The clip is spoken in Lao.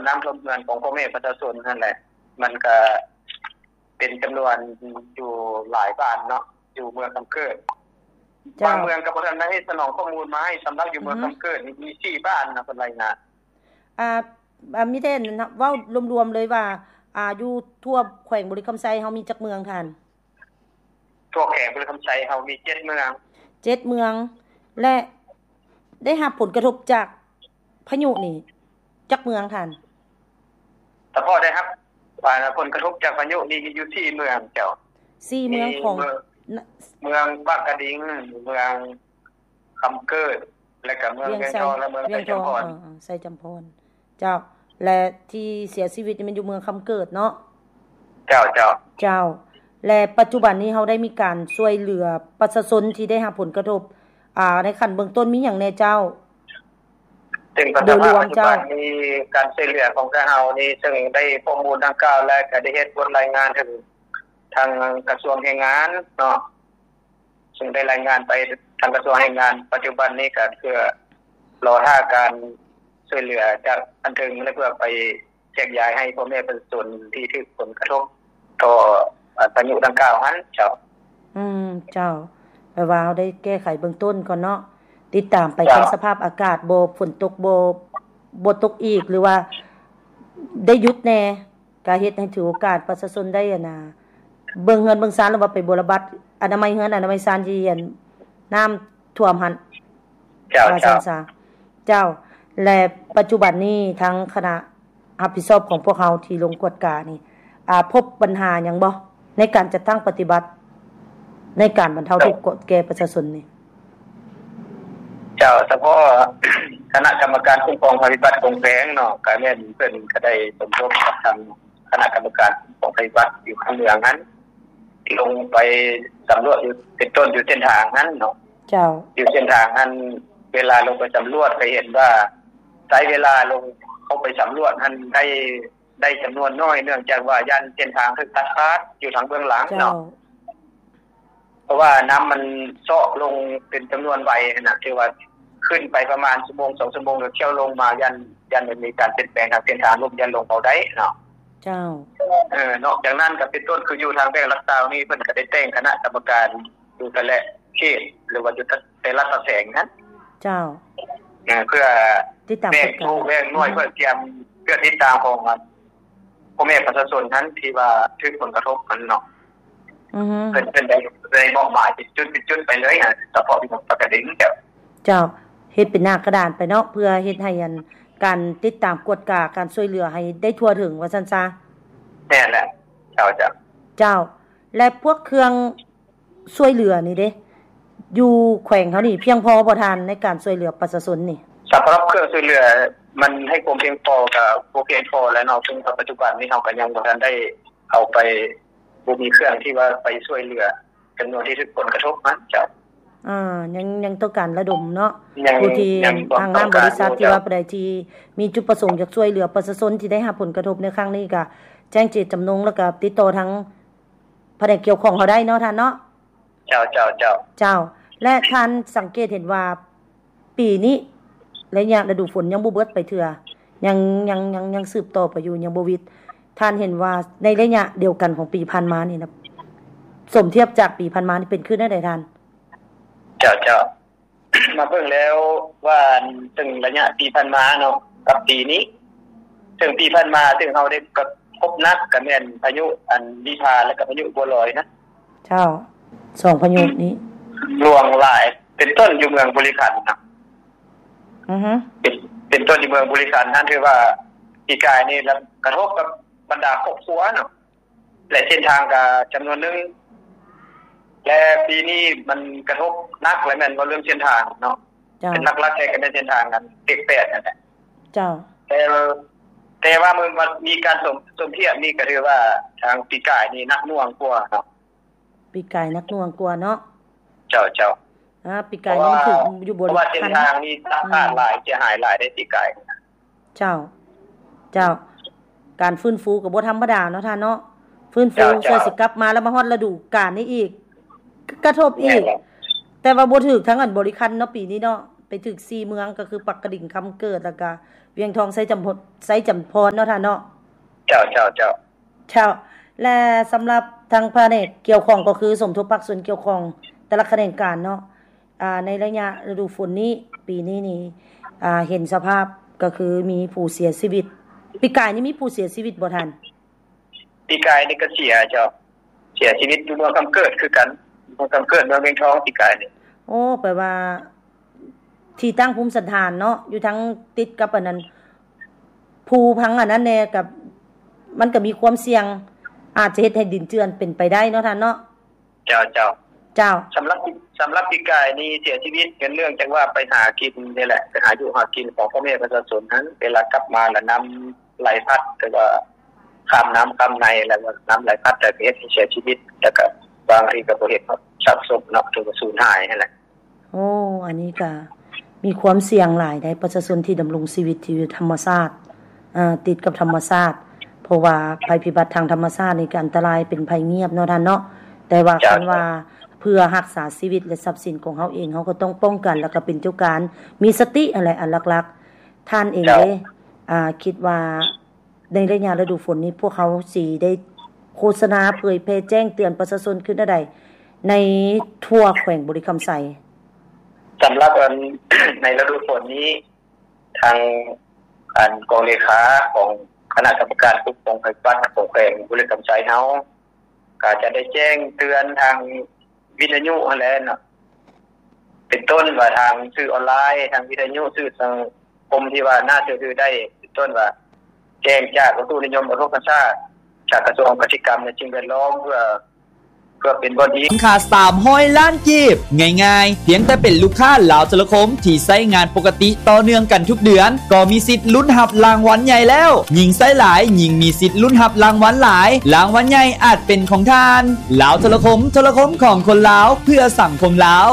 ນ້ຳຖ້ວມເຮືອນຂອງພໍ່ແມ່ປະຊາຊົນຫັ້ນແຫຼະ ມັນກະເປັນຈຳນວນຢູ່ຫຼາຍບ້ານເນາະ ຢູ່ເມືອງຄຳເກີດ. ເຈົ້າ. ບາງເມືອງກໍບໍ່ທັນໄດ້ສະໜອງຂໍ້ມູນມາໃຫ້ ສຳລັບຢູ່ເມືອງຄຳເກີດນີ້ມີສີ່ບ້ານນະ ເພິ່ນລາຍງານ. ອ່າ ມີແຕ່ເວົ້າລວມໆເລີຍວ່າ ອ່າ ຢູ່ທົ່ວແຂວງບໍລິຄຳໄຊເຮົາມີຈັກເມືອງທ່ານ? ທົ່ວແຂວງບໍລິຄຳໄຊເຮົາມີເຈັດເມືອງ. ເຈັດເມືອງ ແລະ ໄດ້ຮັບຜົນກະທົບຈາກພາຍຸນີ້ຈັກເມືອງທ່ານ? ສະເພາະໄດ້ຮັບ ອ່າ ຜົນກະທົບຈາກພາຍຸນີ້ມີຢູ່ສີ່ເມືອງເຈົ້າ. ສີ່ເມືອງຂອງ ມີເມືອງ ເມືອງປາກກະດິງ, ເມືອງຄຳເກີດ ແລະກະເມືອງວຽງທອງ ແລະເມືອງໄຊຈຳພອນ. ເອີ ໄຊຈຳພອນ. ເຈົ້າ ແລະທີ່ເສຍຊີວິດນີ້ແມ່ນຢູ່ເມືອງຄຳເກີດເນາະ? ເຈົ້າ ເຈົ້າ ເຈົ້າ. ແລະປັດຈຸບັນນີ້ເຮົາໄດ້ມີການຊ່ວຍເຫຼືອປະຊາຊົນທີ່ໄດ້ຮັບຜົນກະທົບ ອ່າ ໃນຂັ້ນເບື້ອງຕົ້ນມີຫຍັງແດ່ເຈົ້າ? ເຊິ່ງສະພາບປັດຈຸບັນນີ້ ການຊ່ວຍເຫຼືອຂອງທາງເຮົານີ້ ເຊິ່ງໄດ້ຂໍ້ມູນດັ່ງກ່າວ ແລະກະໄດ້ເຮັດບົດລາຍງານເຖິງທາງກະຊວງແຮງງານເນາະ. ເຊິ່ງໄດ້ລາຍງານໄປທາງກະຊວງແຮງງານ ປັດຈຸບັນນີ້ກະເພື່ອລໍຖ້າການຊ່ວຍເຫຼືອຈາກອັນເທິງ ແລະເພື່ອໄປແຈກຢາຍໃຫ້ພໍ່ແມ່ປະຊາຊົນທີ່ຖືກຜົນກະທົບຕໍ່ພາຍຸດັ່ງກ່າວຫັ້ນເຈົ້າ. ອືມ ເຈົ້າ. ແປວ່າເຮົາໄດ້ແກ້ໄຂເບື້ອງຕົ້ນກ່ອນເນາະ ຕິດຕາມໄປເບິ່ງສະພາບອາກາດ ບໍ່ ຝົນຕົກ ບໍ່ ບໍ່ຕົກອີກ ຫຼືວ່າໄດ້ຢຸດແດ່. ກະເຮັດໃຫ້ຖືໂອກາດປະຊາຊົນໄດ້ ອັນນ່າ ເບິ່ງເຮືອນເບິ່ງຊານ ຫຼືວ່າໄປບົວລະບັດ ອະນາໄມເຮືອນອະນາໄມຊານ ທີ່ອັນ ນ້ຳຖ້ວມຫັ້ນ. ເຈົ້າ ວ່າຊັ້ນຊະ. ເຈົ້າ. ແລະປັດຈຸບັນນີ້ທາງຄະນະຮັບຜິດຊອບຂອງພວກເຮົາທີ່ລົງກວດການີ້ ອ່າ ພົບບັນຫາຫຍັງບໍ່ ໃນການຈັດຕັ້ງປະຕິບັດ ໃນການບັນເທົາທຸກແກ່ປະຊາຊົນນີ້? ເຈົ້າ. ສະເພາະຄະນະກຳມະການຄຸ້ມຄອງໄພພິບັດຂອງແຂວງເນາະ ກະແມ່ນເພິ່ນກະໄດ້ສົມທົບກັບທາງຄະນະກຳມະການຄຸ້ມຄອງໄພພິບັດຢູ່ທາງເມືອງຫັ້ນ ລົງໄປສຳຫຼວດຢູ່ ເປັນຕົ້ນຢູ່ເສັ້ນທາງຫັ້ນເນາະ. ເຈົ້າ. ຢູ່ເສັ້ນທາງຫັ້ນ ເວລາລົງໄປສຳຫຼວດກະເຫັນວ່າ ໃຊ້ເວລາລົງເຂົ້າໄປສຳຫຼວດຫັ້ນໄດ້ ໄດ້ຈຳນວນໜ້ອຍ ເນື່ອງຈາກວ່າຢ້ານເສັ້ນທາງຖືກຕັດຂາດຢູ່ທາງເບື້ອງຫຼັງເນາະ. ເຈົ້າ. ເພາະວ່ານ້ຳມັນຊອກລົງເປັນຈຳນວນໄວຫັ້ນນະ ຖືວ່າຂຶ້ນໄປປະມານຊົ່ວໂມງສອງຊົ່ວໂມງ ແລ້ວຖ້ຽວລົງມາ ຢ້ານ ຢ້ານມັນມີການປ່ຽນແປງທາງເສັ້ນທາງ ລົມຢ້ານລົງເບົາໄດ້ເນາະ. ເຈົ້າ. ເອີ ນອກຈາກນັ້ນກະເປັນຕົ້ນ ຄືຢູ່ທາງແຂວງຫຼັກຊາວນີ້ ເພິ່ນກະໄດ້ແຕ່ງຄະນະກຳມະການຢູ່ແຕ່ລະເຂດ ຫຼືວ່າຢູ່ແຕ່ລະຕາແສງຫັ້ນ. ເຈົ້າ. ເອີ ເພື່ອຕິດຕາມແບ່ງຜູ້ແບ່ງໜ່ວຍ ເພື່ອຕຽມ ເພື່ອຕິດຕາມຂອງ ພໍ່ແມ່ປະຊາຊົນຫັ້ນທີ່ວ່າຖືກຜົນກະທົບຫັ້ນເນາະ. ອືຮຶ. ເພິ່ນ ເພິ່ນໄດ້ ໄດ້ມອບໝາຍເປັນຈຸດເປັນຈຸດໄປເລີຍ ສະເພາະທີ່ປາກກະດິງ. ເຈົ້າ. ເຮັດເປັນໜ້າກະດານໄປເນາະ ເພື່ອເຮັດໃຫ້ອັນ ການຕິດຕາມກວດກາການຊ່ວຍເຫຼືອໃຫ້ໄດ້ທົ່ວເຖິງວ່າຊັ້ນຊະ. ແມ່ນແຫຼະ. ເຈົ້າ ເຈົ້າ. ເຈົ້າ. ແລະພວກເຄື່ອງ ຊ່ວຍເຫຼືອນີ້ເດ້ ຢູ່ແຂວງເຮົານີ້ພຽງພໍບໍ່ທ່ານ ໃນການຊ່ວຍເຫຼືອປະຊາຊົນນີ້? ສຳລັບເຄື່ອງຊ່ວຍເຫຼືອ ມັນໃຫ້ຄວາມພຽງພໍກະບໍ່ພຽງພໍແລ້ວເນາະ ເຊິ່ງປັດຈຸບັນນີ້ເຮົາກະຍັງບໍ່ທັນໄດ້ເອົາໄປ ບໍ່ມີເຄື່ອງທີ່ວ່າໄປຊ່ວຍເຫຼືອຈຳນວນທີ່ຖືກຜົນກະທົບຫັ້ນ. ເຈົ້າ. ອາ ຍັງ ຍັງຕ້ອງການລະດົມເນາະ ຜູ້ທີ່ທາງຫ້າງບໍລິສັດ ທີ່ວ່າຜູ້ໃດທີ່ມີຈຸດປະສົງຢາກຊ່ວຍເຫຼືອປະຊາຊົນທີ່ໄດ້ຮັບຜົນກະທົບໃນຄັ້ງນີ້ ກະແຈ້ງເຈດຈຳນົງ ແລ້ວກະຕິດຕໍ່ທາງ ພະແນກກ່ຽວຂ້ອງເຮົາໄດ້ເນາະທ່ານເນາະ. ເຈົ້າ ເຈົ້າ ເຈົ້າ. ເຈົ້າ. ແລະທ່ານສັງເກດເຫັນວ່າປີນີ້ໄລຍະລະດູຝົນຍັງບໍ່ເບິດໄປເທື່ອ ຍັງ ຍັງ ຍັງ ຍັງສືບຕໍ່ໄປຢູ່ ຍັງບໍ່ຫວິດ. ທ່ານເຫັນວ່າໃນໄລຍະດຽວກັນຂອງປີຜ່ານມານີ້ນະ ສົມທຽບຈາກປີຜ່ານມານີ້ເປັນຄືແນວໃດທ່ານ? ເຈົ້າ ເຈົ້າ. ມາເບິ່ງແລ້ວວ່າ ເຊິ່ງໄລຍະປີຜ່ານມາເນາະ ກັບປີນີ້ ເຊິ່ງປີຜ່ານມາ ເຊິ່ງເຮົາໄດ້ກະທົບໜັກກະແມ່ນພາຍຸອັນ ວິພາ ແລະກະພາຍຸບົວລອຍນະ. ເຈົ້າ. ສອງພາຍຸນີ້ຫຼວງຫຼາຍ ເປັນຕົ້ນຢູ່ເມືອງບໍລິຄັນນະ. ອືຮຶ. ເປັນ ເປັນຕົ້ນຢູ່ເມືອງບໍລິຄັນນັ້ນ ຖືວ່າປີກາຍນີ້ລະກະທົບກັບບັນດາຄອບຄົວເນາະ. ແລະເສັ້ນທາງກະຈຳນວນໜຶ່ງ ແລະປີນີ້ມັນກະທົບໜັກ ແລະແມ່ນເວົ້າເລື່ອງເສັ້ນທາງເນາະ. ເຈົ້າ. ເປັນຫຼັກໆແທ້ກະແມ່ນເສັ້ນທາງອັນເລກແປດນັ້ນແຫຼະ. ເຈົ້າ. ແຕ່ ແຕ່ວ່າມັນ ມັນມີການສົມ ສົມທຽບນີ້ກະຖືວ່າທາງປີກາຍນີ້ໜັກໜ່ວງກວ່າເນາະ. ປີກາຍໜັກໜ່ວງກວ່າເນາະ. ເຈົ້າ ເຈົ້າ. ອາ ປີກາຍນີ້ມັນຖືກຢູ່ບໍລິຄັນ ເພາະວ່າເສັ້ນທາງນີ້ຕັດຂາດຫຼາຍ ເສຍຫາຍຫຼາຍໃດ໋ປີກາຍ. ເຈົ້າ ເຈົ້າ. ການຟື້ນຟູກະບໍ່ທຳມະດາເນາະທ່ານເນາະ ຟື້ນຟູເພື່ອຊິກັບມາ ແລ້ວມາຮອດລະດູການນີ້ອີກ ກະທົບອີກ. ແຕ່ວ່າບໍ່ຖືກທາງອັນບໍລິຄັນເນາະ ປີນີ້ເນາະ ໄປຖືກສີ່ເມືອງ ກະຄືປາກກະດິງ, ຄຳເກີດ ແລ້ວກະ ວຽງທອງ ໄຊຈຳພອນ ໄຊຈຳພອນເນາະທ່ານເນາະ. ເຈົ້າ ເຈົ້າ ເຈົ້າ. ເຈົ້າ ແລະ ສຳລັບທາງພະແນກກ່ຽວຂ້ອງ ກໍຄືສົມທົບພາກສ່ວນກ່ຽວຂ້ອງແຕ່ລະຂະແໜງການເນາະ ອ່າ ໃນໄລຍະລະດູຝົນນີ້ ປີນີ້ນີ້ ອ່າ ເຫັນສະພາບກໍຄືມີຜູ້ເສຍຊີວິດ. ປີກາຍນີ້ມີຜູ້ເສຍຊີວິດບໍ່ທ່ານ? ປີກາຍນີ້ກໍເສຍເຈົ້າ ເສຍຊີວິດຢູ່ເມືອງຄຳເກີດຄືກັນ ເມືອງຄຳເກີດ ເມືອງວຽງທອງ ປີກາຍນີ້. ໂອ້ ແປວ່າທີ່ຕັ້ງພູມສັນຖານເນາະ ຢູ່ທາງຕິດກັບອັນນັ້ນ ພູພັງອັນນັ້ນແດ່ ກັບ ມັນກໍມີຄວາມສ່ຽງ ອາດຈະເຮັດໃຫ້ດິນເຈື່ອນເປັນໄປໄດ້ເນາະທ່ານເນາະ. ເຈົ້າ ເຈົ້າ. ເຈົ້າ. ສຳລັບ ສຳລັບປີກາຍນີ້ເສຍຊີວິດ ກໍເນື່ອງຈາກວ່າໄປຫາກິນນີ້ແຫຼະ ໄປຫາຢູ່ຫາກິນຂອງພໍ່ແມ່ປະຊາຊົນຫັ້ນ ເວລາກັບມາລະນ້ຳໄຫຼພັດ ແຕ່ວ່າຂ້າມນ້ຳຂ້າມໃນ ແລ້ວກໍນ້ຳໄຫຼພັດ ແລ້ວກໍເຮັດໃຫ້ເສຍຊີວິດ ແລ້ວກໍບາງທີກໍບໍ່ເຫັນຮອດຊາກສົບເນາະ ຖືວ່າສູນຫາຍຫັ້ນແຫຼະ. ໂອ້ ອັນນີ້ກະມີຄວາມສ່ຽງຫຼາຍໃດ໋ ປະຊາຊົນທີ່ດຳລົງຊີວິດທີ່ຢູ່ທຳມະຊາດ ເອີ ຕິດກັບທຳມະຊາດ ເພາະວ່າໄພພິບັດທາງທຳມະຊາດນີ້ກະອັນຕະລາຍ ເປັນໄພງຽບເນາະທ່ານເນາະ ແຕ່ວ່າ ເຈົ້າ ຄັນວ່າເພື່ອຮັກສາຊີວິດ ແລະ ຊັບສິນຂອງເຮົາເອງ ເຮົາກໍຕ້ອງປ້ອງກັນ ແລ້ວກໍເປັນເຈົ້າການ ມີສະຕິຫັ້ນແຫຼະ ອັນຫຼັກໆ. ທ່ານເອງ ເຈົ້າ ເດ້ ອາ ຄິດວ່າ ໃນໄລຍະລະດູຝົນນີ້ ພວກເຮົາຊິໄດ້ໂຄສະນາເຜີຍແຜ່ແຈ້ງເຕືອນປະຊາຊົນຄືແນວໃດ ໃນທົ່ວແຂວງບໍລິຄຳໄຊ? ສຳລັບອັນ ໃນລະດູຝົນນີ້ ທາງອັນກອງເລຂາຂອງຄະນະກຳມະການປົກປ້ອງໄພພິບັດຂອງແຂວງບໍລິຄຳໄຊເຮົາ ກໍຈະໄດ້ແຈ້ງເຕືອນທາງ ວິທະຍຸຫັ້ນແຫຼະເນາະ ເປັນຕົ້ນວ່າທາງສື່ອອນລາຍ ທາງວິທະຍຸ ສື່ສັງຄົມທີ່ວ່າໜ້າເຊື່ອຖືໄດ້ ເປັນຕົ້ນວ່າແຈ້ງຈາກອຸຕຸນິຍົມອຸທົກກະຊາດ ຈາກກະຊວງກະສິກຳ ແລະ ສິ່ງແວດລ້ອມ ເພື່ອ ເພື່ອເປັນບ່ອນອີງ. ມູນຄ່າສາມຮ້ອຍລ້ານກີບ ງ່າຍໆ ພຽງແຕ່ເປັນລູກຄ້າລາວໂທລະຄົມທີ່ໃຊ້ງານປົກກະຕິຕໍ່ເນື່ອງກັນທຸກເດືອນ ກໍມີສິດລຸ້ນຮັບລາງວັນໃຫຍ່ແລ້ວ. ຍິ່ງໃຊ້ຫຼາຍ ຍິ່ງມີສິດລຸ້ນຮັບລາງວັນຫຼາຍ. ລາງວັນໃຫຍ່ອາດເປັນຂອງທ່ານ. ລາວໂທລະຄົມ, ໂທລະຄົມຂອງຄົນລາວ ເພື່ອສັງຄົມລາວ.